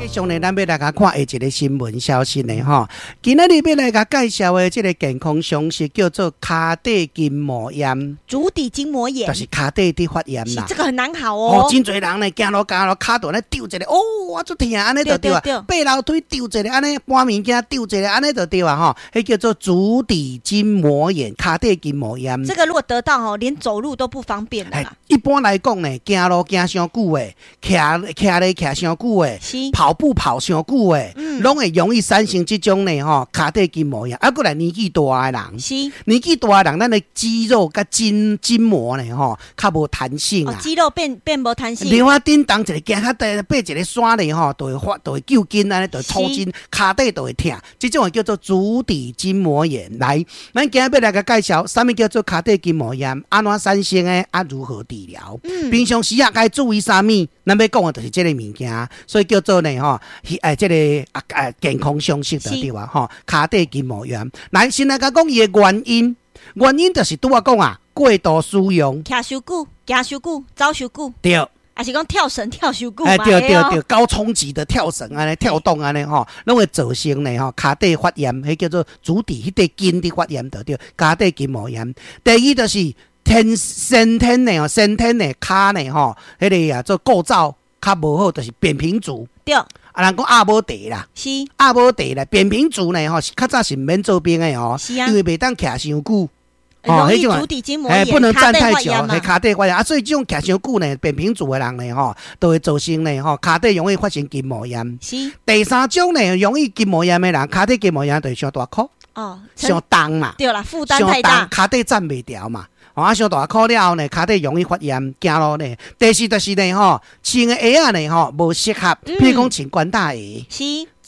繼續呢，咱欲來共看下一个新聞消息呢，吼。今仔日欲來共介紹的這个健康常識叫做跤底筋膜炎，足底筋膜炎，就是跤底佇發炎啦。這個很難好哦。哦，真濟人呢，行路行路，跤度咧丟一个，哦，我足疼，按呢就對啊。爬樓梯丟一个，按呢搬物件丟一个，按呢就對啊，吼。彼叫做足底筋膜炎，跤底筋膜炎。這個如果得到吼，連走路都不方便啦。一般來講呢，行路行傷久的，徛徛咧徛傷久的，跑步跑傷久的，攏會容易產生這種呢吼，跤底筋膜炎。啊，閣來年紀大的人，年紀大的人，咱的肌肉佮筋膜呢吼，較無彈性啊。肌肉變無彈性。對啊，振動一个行較短，爬一个山咧吼，就會發，就會揪筋按呢，就會抽筋，跤底就會疼。這種叫做足底筋膜炎。來，咱今日欲來共介紹，啥物叫做跤底筋膜炎，按怎產生的，啊如何治療？平常時啊該注意啥物？咱欲講的就是這个物件，所以叫做呢吼，哎，這个啊啊健康常識就對啊吼，跤底筋膜炎。來，先來共講伊的原因，原因就是拄仔講啊，過度使用，徛傷久，行傷久，走傷久，抑是講跳繩跳傷久。哎，對對對，高衝擊的跳繩按呢，跳動按呢吼，攏會造成呢吼，跤底發炎，彼叫做足底彼塊筋佇發炎，就對，跤底筋膜炎。第二就是天先天的哦，先天的跤呢吼，彼个啊做構造較無好，就是扁平足。啊，人講鴨母蹄啦，鴨母蹄啦，扁平足呢吼，較早是毋免做兵的哦，因為袂當徛傷久。哦，彼種足底筋膜炎，不能站太久，彼跤底發炎啊，所以這種徛傷久呢，扁平足的人呢，吼，都會造成呢，吼，跤底容易發生筋膜炎。第三種呢，容易筋膜炎的人，跤底筋膜炎就是傷大箍，哦，傷重嘛，對啦，負擔太大，跤底站袂牢嘛。哦，啊，傷大箍了後呢，跤底容易發炎，行路呢。第四就是呢，吼，穿的鞋仔呢，吼，無適合，譬如講穿關大鞋。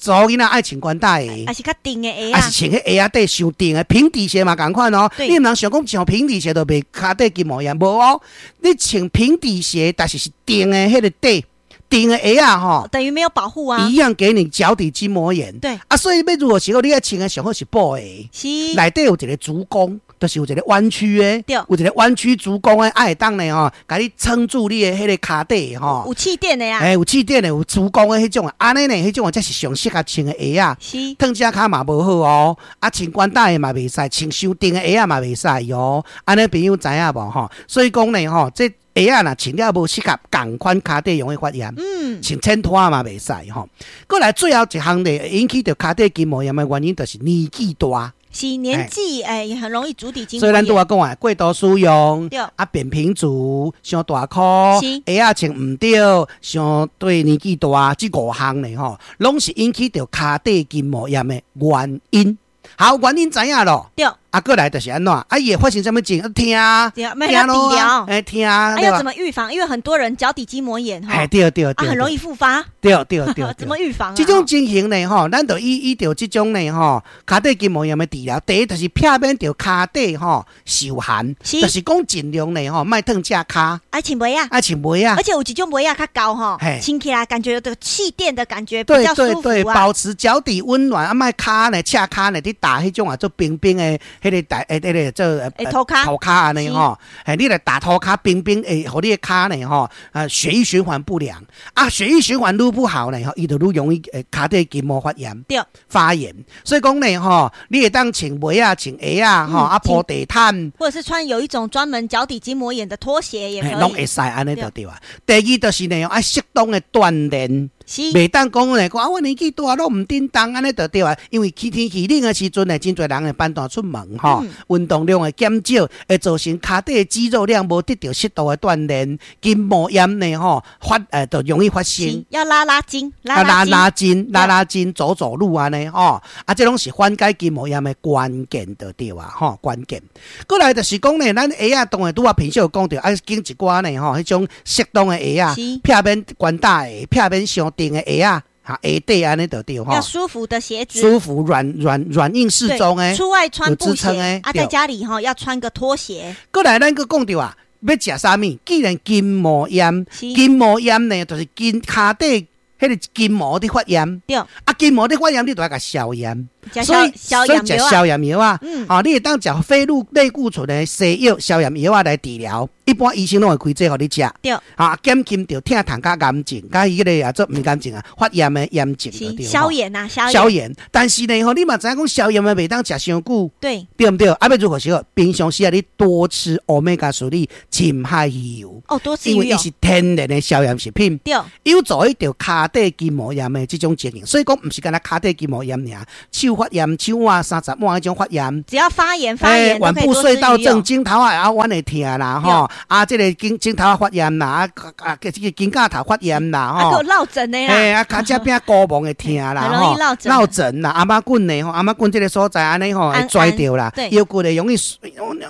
查某囡仔愛穿關大鞋，抑是較硬的鞋抑是穿彼鞋仔底傷硬的平底鞋嘛，仝款哦。你毋通想講穿平底鞋就袂跤底筋膜炎，無哦。你穿平底鞋，但是是硬的彼个底，硬的鞋仔吼，等於沒有保護啊，一樣給你腳底筋膜炎。啊，所以欲如何時候你愛穿的上好是布鞋，內底有一个足弓，就是有一个彎曲的，有一个彎曲足弓的，啊會當呢吼，共你撐住你的彼个跤底吼。有氣墊的啊。欸，有氣墊的，有足弓的彼種，按呢呢，彼種才是上適合穿的鞋仔。褪踭跤嘛無好哦，啊穿關大鞋嘛袂使，穿傷硬的鞋仔嘛袂使哦。按呢朋友知影無吼？所以講呢吼，這鞋仔若穿了無適合，仝款跤底容易發炎。穿淺拖嘛袂使吼。閣來最後一項呢，引起著跤底筋膜炎的原因，就是年紀大。是年紀欸，也很容易足底筋膜炎。所以咱拄仔講啊，過度使用，啊，扁平足，傷大箍，鞋仔穿毋對，相對年紀大，這五項呢吼，攏是引起著跤底筋膜炎的原因。好，原因知影咯。啊，閣來就是按怎？啊，伊會發生啥物症？疼，疼咯，欸，疼。啊，要怎麼預防？因為很多人腳底筋膜炎，哈，對對對，很容易復發。對對對，怎麼預防？這種情形呢，吼，咱就依著這種呢，吼，跤底筋膜炎的治療，第一就是避免著跤底吼受寒，就是講盡量呢，吼，莫褪踭跤。愛穿襪仔，愛穿襪仔。而且有一種襪仔較厚吼，穿起來感覺有這個氣墊的感覺，比較舒服。對對對，保持腳底溫暖，啊，莫跤呢，赤跤呢，佇踏彼種啊，做冰冰的。彼个大，欸，彼个做塗跤，塗跤按呢吼，欸，你來踏塗跤冰冰，會予你的跤呢吼，啊，血液循環不良，啊，血液循環愈不好呢，吼，伊就愈容易跤底筋膜發炎，發炎。所以講呢，吼，你會當穿襪仔、穿鞋仔，吼，啊，鋪地毯，或者是穿有一種專門腳底筋膜炎的拖鞋也可以，攏會使按呢就對啊。第二就是呢，愛適當的鍛鍊。袂當講呢，講啊，我年紀大攏毋振動，按呢就對啊。因為天氣冷的時陣呢，真濟人會辦蹛出門吼，運動量會減少，會造成跤底的肌肉量無得著適度的鍛鍊，筋膜炎呢吼發就容易發生。要拉拉筋，拉拉筋，拉拉筋，走走路按呢吼，啊，這攏是緩解筋膜炎的關鍵就對啊，吼，關鍵。閣來就是講呢，咱鞋仔當然拄仔平時有講著，愛揀一寡呢吼，彼種適當的鞋仔，避免關大鞋，避免傷硬的鞋仔，哈，鞋底按呢就對吼。要舒服的鞋子，舒服軟軟軟硬適中的，出外穿布鞋啊，在家裡吼要穿個拖鞋。閣來咱閣講著啊，欲食啥物？既然筋膜炎，筋膜炎呢，就是筋跤底彼个筋膜佇發炎。啊，筋膜佇發炎，你就愛共消炎。所以所以食消炎藥啊，哦，你會當食非類固醇的西藥消炎藥啊來治療，一般醫生攏會開這予你食。對，啊，減輕著疼痛佮癌症，佮彼个啊做毋是癌症啊，發炎的炎症就對。消炎啊，消炎。但是呢，吼，你嘛知影講消炎的袂當食傷久，對，對毋對？啊，欲如何是好？平常時啊，你多吃歐米伽三深海魚油。哦，多吃魚油。因為伊是天然的消炎食品。對，有助於著跤底筋膜炎的這種情形，所以講毋是干焦跤底筋膜炎爾，手發炎、手腕三十腕彼種發炎，只要發炎發炎，腕部隧道症、枕頭仔後彎會疼啦，吼，啊，這個肩枕頭仔發炎啦，啊啊，這個肩胛頭發炎啦，吼，啊，閣落枕的啦，嘿，啊，跤脊餅膏毛會疼啦，吼，落枕啦，頷仔骨呢，吼，頷仔骨這個所在按呢吼會跩著啦，腰骨會容易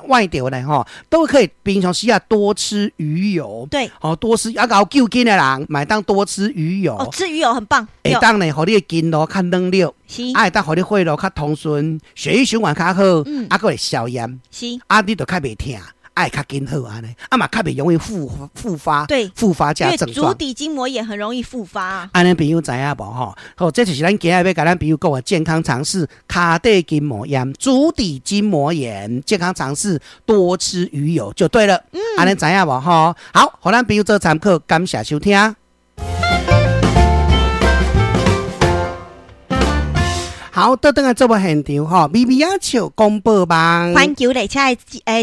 歪著咧，吼，都可以平常時啊多吃魚油，對，吼，多吃啊，𠢕救筋的人，嘛會當多吃魚油，哦，吃魚油很棒，會當呢，予你的筋路較軟弱，是，啊，會當予你血路較通順，血液循環較好，啊，閣會消炎，是，啊，你就較袂疼，啊，會較緊好按呢，啊嘛較袂容易復發，對，復發這症狀。足底筋膜炎很容易復發。按呢朋友知影無吼？好，這就是咱今日欲共咱朋友講的健康常識：跤底筋膜炎、足底筋膜炎，健康常識，多吃魚油就對了。按呢知影無吼？好，予咱朋友做參考，感謝收聽。好，倒轉來節目現場吼，咪咪仔笑廣播網，環球列車的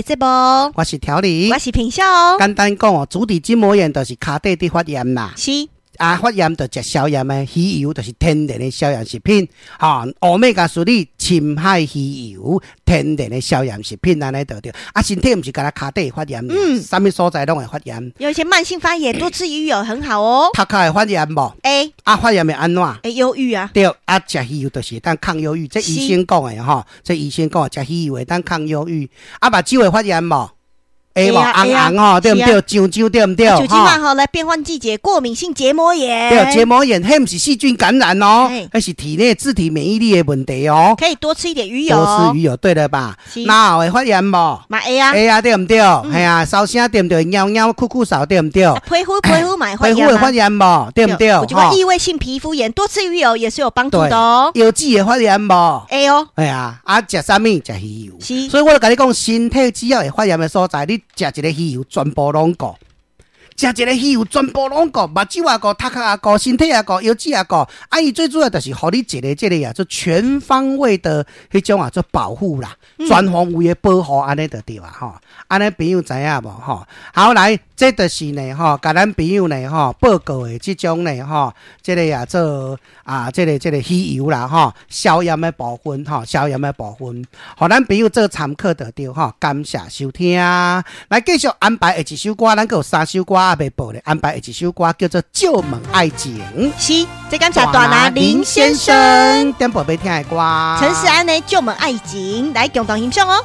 節目，我是調理，我是平秀。簡單講哦，足底筋膜炎就是跤底佇發炎啦。是。啊，發炎就食消炎的魚油，就是天然的消炎食品。吼，歐米伽三深海魚油，天然的消炎食品，按呢就對。啊，身體毋是干焦跤底發炎，啥物所在攏會發炎。有一些慢性發炎，多吃魚油很好哦。頭殼會發炎無？會。啊，發炎會按怎？會憂鬱啊。對，啊，食魚油就是會當抗憂鬱，這醫生講的吼，這醫生講的，食魚油會當抗憂鬱。啊，目睭會發炎無？會無紅紅吼，對毋對？癢癢對毋對？就這馬吼來變換季節，過敏性結膜炎。對，結膜炎，彼毋是細菌感染哦，彼是體內自體免疫力的問題哦。可以多吃一點魚油。多吃魚油，對了吧？腦會發炎無？嘛會啊。會啊，對毋對？係啊，燒聲對毋對？貓貓咳咳嗽對毋對？皮膚皮膚嘛會發炎。皮膚會發炎無？對毋對？有一寡異位性皮膚炎，多吃魚油也是有幫助的哦。腰子會發炎無？會哦。係啊，啊，食啥物？食魚油。是。所以我就共你講，身體只要會發炎的所在，你食一個魚油，全部攏顧。食一個魚油，全部攏顧，目睭也顧，頭殼也顧，身體也顧，腰子也顧。啊，伊最主要就是予你一個這個啊，做全方位的彼種啊，做保護啦，全方位的保護，按呢就對啊，吼。按呢朋友知影無？吼，好來，這就是呢，吼，共咱朋友呢，吼，報告的這種呢，吼，這個啊做啊，這個這個魚油啦，吼，消炎的部分，吼，消炎的部分，予咱朋友做參考就對，吼，感謝收聽。來繼續安排下一首歌，咱閣有三首歌猶未播咧，安排下一首歌叫做《借問愛情》。是，這感謝大拿林先生點播欲聽的歌。陳勢安的《借問愛情》來共同欣賞哦。